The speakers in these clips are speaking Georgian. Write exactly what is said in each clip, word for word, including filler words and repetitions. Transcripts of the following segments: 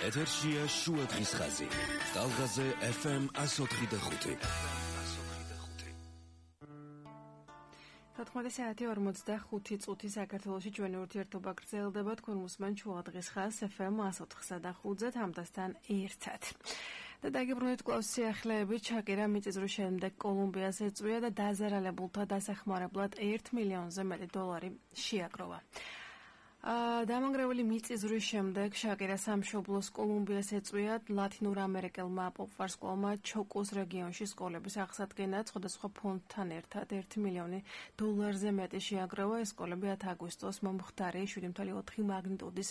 ეთერშია შუა დღის ხაზი. ტალღაზე ეფ ემ εκατო ოთხი და ხუთი. თოთხმეტი საათი ორმოცდახუთი წუთი საქართველოში ჩვენი ურთიერთობა გრძელდება თქვენ მოსმენთ შუა დღის ხაზს ეფ ემ εκατო ოთხსა და ხუთზე თამთასთან ერთად. და დაგიბრუნეთ კვლავ სიახლეებით. ჩაკირა მიწისძვრის შემდეგ კოლუმბიას ეწვია და დაზარალებულთა დასახმარებლად ერთ მილიონზე მეტი დოლარი შეაგროვა. დამანგრეველი მიწისძვრის შემდეგ შაკირა სამშობლოს კოლუმბიას ეწვია ლათინურ ამერიკელმა პოპ-ვარსკვლავმა ჩოკოს რეგიონში სკოლების აღსადგენად სხვადასხვა ფონდთან ერთად ერთი მილიონი დოლარზე მეტი შეაგროვა. ეს სკოლები ათი აგვისტოს მომხდარი შვიდი კoma ოთხი მაგნიტუდის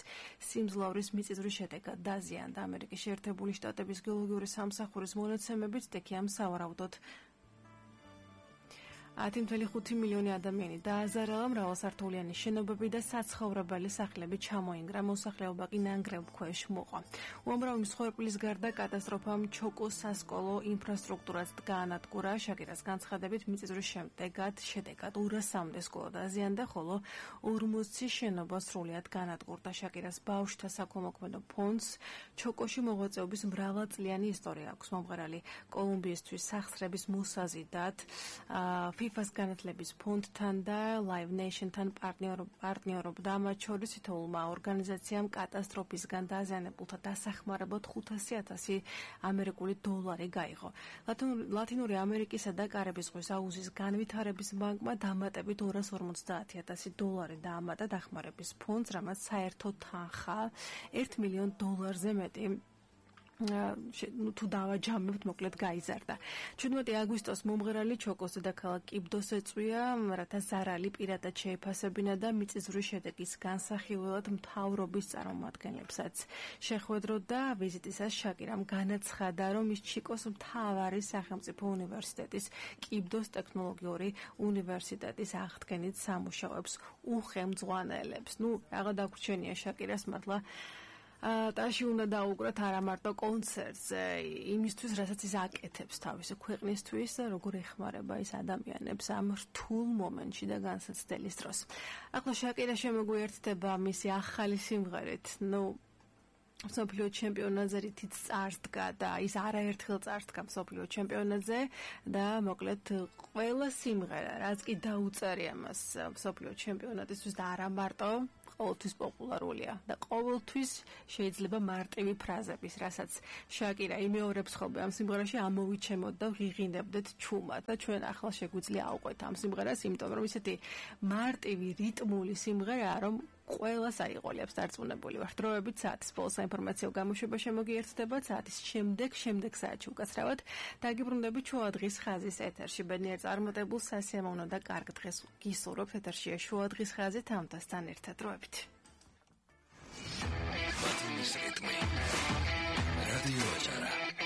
სიმძლავრის მიწისძვრის შედეგად დაზიანდა. ამერიკის შეერთებული შტატების გეოლოგიური სამსახურის მონაცემებით სტიქიამ სავარაუდოდ ათი კoma ხუთი მილიონი ადამიანი დააზარალა, მრავალსართულიანი შენობები და საცხოვრებელი სახლები ჩამოინგრა, მოსახლეობა კი ნანგრევ ქვეშ მოყვა. უამრავი მსხვერპლის გარდა კატასტროფამ ჩოკოს სასკოლო ინფრასტრუქტურას გაანადგურა. შაკირას განცხადებით მიწისძვრის შედეგად შედეგად ორასამდე სკოლა დაზიანდა, ხოლო ორმოცი შენობა სრულად გაანადგურდა. შაკირას ბავშვთა საქველმოქმედო ფონდს ჩოკოში მოღვაწეობის მრავალწლიანი ისტორია აქვს. მომღერალი კოლუმბიისთვის სახსრების მოსაზიდად ფიფას განათლების ფონდთან და Live Nation-თან პარტნიორობდა. მათ შორის თითოეულმა ორგანიზაციამ კატასტროფისგან დაზიანებულთა დასახმარებლად ხუთასი ათასი ამერიკული დოლარი გაიღო. ლათინური ამერიკისა და კარიბის ზღვის აუზის განვითარების ბანკმა დამატებით ორას ორმოცდაათი ათასი დოლარი დაამატა დახმარების ფონდს, რამაც საერთო თანხა ერთ მილიონ დოლარზე მეტი თუ დავაჯამებთ, მოკლედ გაიზარდა. შვიდმეტი აგვისტოს მომღერალი ჩოკოს დედაქალაქ კიბდოს ეწვია, რათა ზარალი პირადად შეეფასებინა და მიწისძვრის შედეგის განსახილველად მთავრობის წარმომადგენლებსაც შეხვედროდა. ვიზიტისას შაკირამ განაცხადა, რომ ის ჩიკოს მთავარი სახელმწიფო უნივერსიტეტის კიბდოს ტექნოლოგიური უნივერსიტეტის აღდგენით სამუშაოებს უხელმძღვანელებს. ნუ რაღა დაგვრჩენია შაკირას, მართლა ტაში უნდა დაუყრათ არა მარტო კონცერტზე, იმისთვის, რასაც ის აკეთებს თავისი ქვეყნისთვის და როგორ ეხმარება ის ადამიანებს ამ რთულ მომენტში და განსაცდელის დროს. ახლა შაკირა შემოგვიერთდება მისი ახალი სიმღერით. ნუ მსოფლიო ჩემპიონატზე რითიც წარსდგა და ის არაერთხელ წარსდგა მსოფლიო ჩემპიონატზე და მოკლედ ყველა სიმღერა, რაც კი დაუწერია მას მსოფლიო ჩემპიონატისთვის და არა მარტო ყოველთვის პოპულარულია და ყოველთვის შეიძლება მარტივი ფრაზების, რასაც შაკირა იმეორებს ხოლმე ამ სიმღერაში ამოვიჩემოთ და ვიღინებდეთ ჩუმად და ჩვენ ახლა შეგვიძლია ავყვეთ ამ სიმღერას, იმიტომ რომ ისეთი მარტივი რიტმული სიმღერაა, რომ ყველას აიყოლებს დარწმუნებული ვარ. დროებით საათის ბოლოს საინფორმაციო გამოშვება შემოგიერთდება. საათის შემდეგ, შემდეგ საათში უკაცრავად დაგიბრუნდებით შუა დღის ხაზის ეთერში. ბედნიერ წარმატებულ სასიამოვნო და კარგ დღეს გისურვებთ. ეთერშია შუა დღის ხაზი თამთასთან ერთად. დროებით. მათი რიტმი